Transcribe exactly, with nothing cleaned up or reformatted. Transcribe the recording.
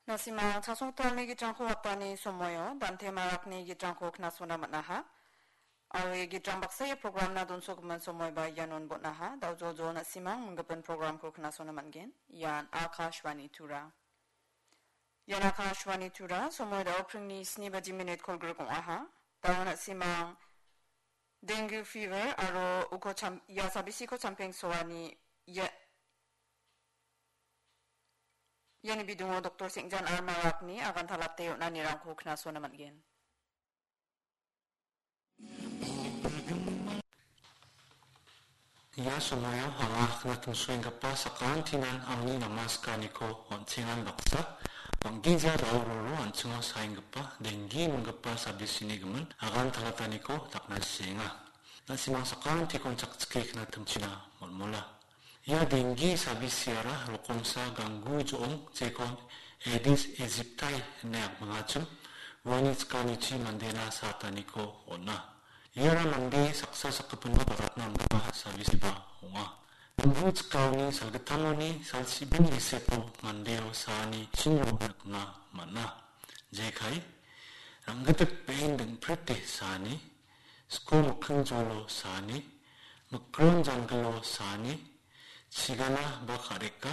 Na·simang chasongtalni gitrangko watani somoio dante marakni gitrangko knasona man·aha. Aro ia gitrang baksa ia programna donsogimin somoiba ianon bon·aha. Daojojo na·simang minggipin programko knasona man·gen. Ian Akashvani Tura. Ian Akashvani Tura, somoi dao pringni sni baji minit kolgrik ong·aha. Dao na·simang dengue fever aro uko cham-, ia sabisiko champengsoani ia-, iani bidingo doktor Sengjan R Marakni agantalate on·anirangko knasona man·gen. Ia somoio anga knatongsoenggipa sakantinan angni namaskaniko on·chengan baksa, bang·gija daororo an·chingo saenggipa denggi minggipa sabisini gimin agantalataniko dakna sienga. Na·simang sakantikon chakchike knatimchina molmola. Ia denggi sabisiara rokomsa ganggu jo·ong jekon Aedes aegypti ine apmangachim, uani chikanichi mandena sataniko on·a. Iara mande saksa sakgipinba baratna amgipa sabisiba ong·a. Ganggu chikaoni salgittamoni salsibin giseko mandeo saani chinro nikna man·a. Jekai, ranggitip be·en dingprete saani, sko mikkingjolo saani, mikron janggilo saani, chigana ba ka·reka,